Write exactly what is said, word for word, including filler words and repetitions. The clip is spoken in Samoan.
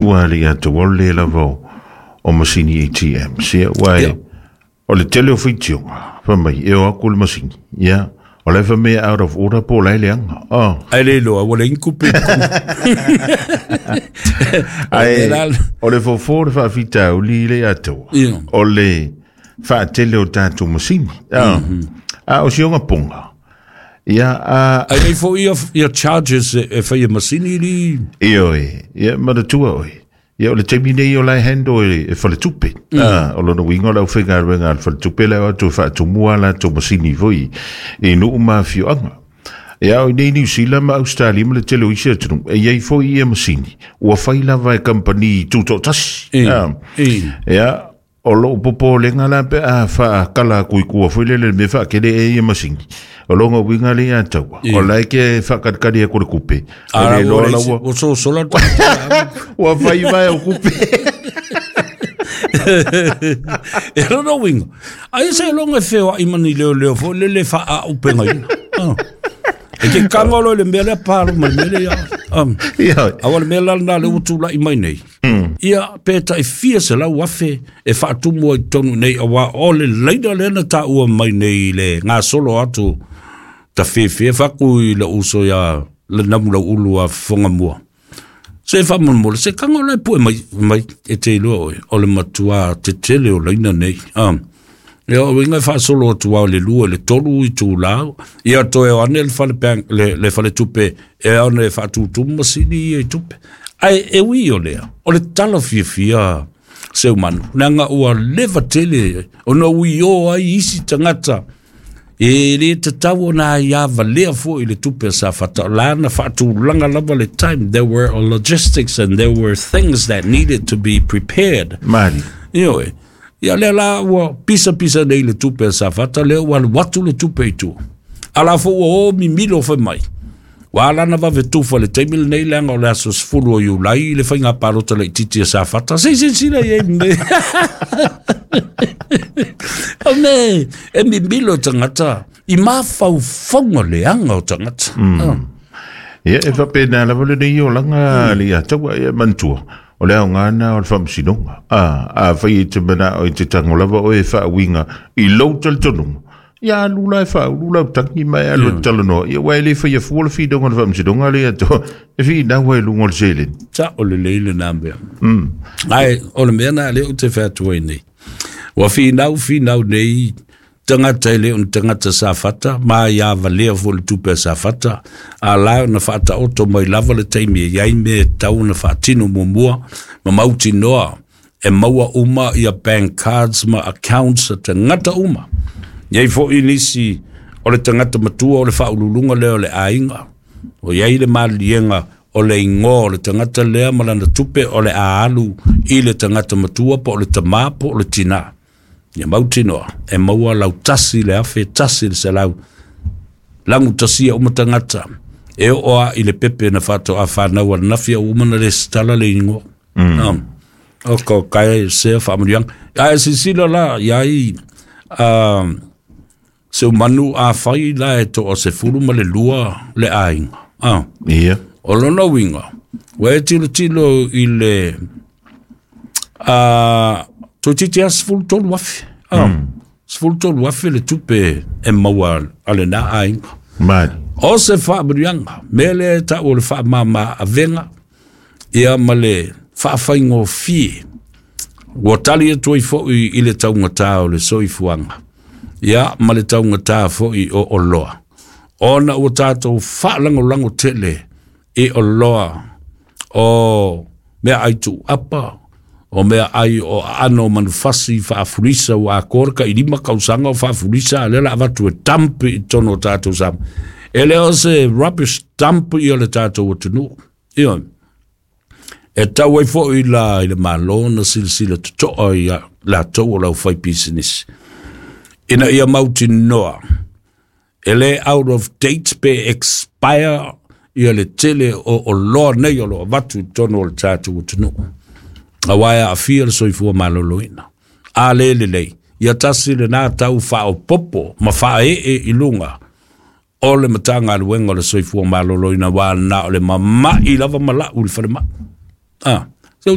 Ua le ia te le lava o masini A T M. Sia ua e o le tele o whitionga, fa mai, e o aku le masini. Ia, o le fa mea out of order po lai leanga. Oh. Ai le loa, ua le inkupe. Ai, o le fofo le whaafita o li le atua. O le whaatele o tātou masini. Ah. A o sionga ponga. Ia, a... Ai nei fo ia, ia charges e, e whai e masini li... Ia oe, ia manatua oe. Ia o le taimi nei o lai hando e, e whaletupe. Mm. Ah, o lona winga lau whenga ruenga al whaletupe leo atu whaatumua la tō masini foi e nuu mawhioanga. Ia o nei New Zealand ma Australia ma le tele o isi atunu. E iai foi ia masini. Ua whai lava e kampani tūtōtasi. E, ah, e. Ia, o loo popo lenga la pe a whaakala kui kua foi lele me whaakele e ia masini. O longa winga le ia taua. O lai ke whakatkari e kore kupe. Ara o so sola. Ua whai vai o kupe. E rona winga. Ai se longa e whewa imani leo leo fo lele wha a upenga ina. E ke kangolo le mea lea pāro mai mele ia. Awa le mea lala nā le utu lai mai nei. Ia pēta e fia se lau afe e whaatumua i tonu nei awa o le leina lena tā ua mai nei le ngā solo atu ta whewhea whaku i la uso ia le namu lau ulu a whonga mua. Se whamonmole, se kangolo e pue mai, mai e te iloa oe, o le matua te tele o leina nei. Um, Ia o inga whaasolo atu au le lua le tolu i tū lau. Ia toe o ane le whale, bank, le, le whale tupe e ane e whaatutumu masini ia i tupe. Ai e ui o lea, o le tala fiafia seu manu. Nanga ua lewa tele, o na ui o ai isi tangata. E le tatau o nā ia valea fo i le tupe sa whata. Lana whaatulanga lava le time. There were logistics and there were things that needed to be prepared. Mari. Io e. Ia lea la ua pisa pisa nei le tupe sa whata lea ua watu le tupe i tua. Ala fo ua o mimilo whai mai. Wa alana wawe tufa le taimi le nei leanga o le aso sefulu o Iulai le whainga parota le titi sa whata. Se se sila ye me. O me, e mimilo tangata. I mawhau whaunga leanga o tangata. Mm. Ia e whapena lava le nei o langa le ia taua ia mantua. O leo ngana o le whamsinonga. A, a whai e te mana o i te tango lava o e whaawinga i lau talitonunga. Ia alu la e whaulu lau tangi mai alu mm. talanoa. Ia wai le whai a fua le whidonga le whamsinonga le ato. E whii nā wai lunga le selen. Ta o le leile nā mea. Mm. Ai, o le mea nā leo te whaatua i nei. Wa whinau whinau nei tangata e leo tangata sa whata, mā ia valea fo le tupe sa whata, a lao na whata oto mai lava le taimi e iai me tau na whaatino mua, ma mauti noa, e maua uma ia bank cards ma accounts a tangata uma. Iai fo i nisi o le tangata matua o le whaululunga leo le ainga, o iai le malienga o le ingoa o le tangata lea malana tupe o le aalu i le tangata matua po o le tamā po o le tina. Ia mautinoa, e maua lau tasi le afe, tasi le selau. Langu tasia uma tangata. E oa i le pepe na whato a whanau a nawhia umana le stala le ingoa. Mm. Um, o ko kai sea whaamurianga. Ai sisila la, iai uh, se manu a whai la e to o se furu ma le lua le ainga. Ah. Yeah. O lona winga, wa e tilo tilo i le... Uh, Tō titi a sefulu tolu afe. Ah, mm. Sefulu tolu afe le tupe e maua ale nā ainga. Mari. O se whaamurianga, me le ta o le whaamama avenga, ia ma le whaawhaingo fie. Ua tali e toi foi i le taungatā o le soifuanga. Ia ma le taungatā foi o oloa. Ona ua tātou whaalangolango tele i oloa o mea aitu apa, o mea ai o ano manufasi whaafurisa o a korka i lima kausanga o whaafurisa a lela avatu e tampi i tono tātou sama. E leo se rubbish dump i o le tātou atunu. Iyo. E tau ai fo i la i le malona silasila totoa i la tou o lau whai business. Ina ia mauti noa. E le out of date pe expire i o le tele o, o loa nei o lo avatu i tono o le tātou atunu. A waia a fia le soifua maloloina. A le le lei. Ia tasi le nā tau whao popo ma wha e e i lunga. O le matanga aluenga o le soifua maloloina wā nā o le mamai lava malau le whale ma. Ah.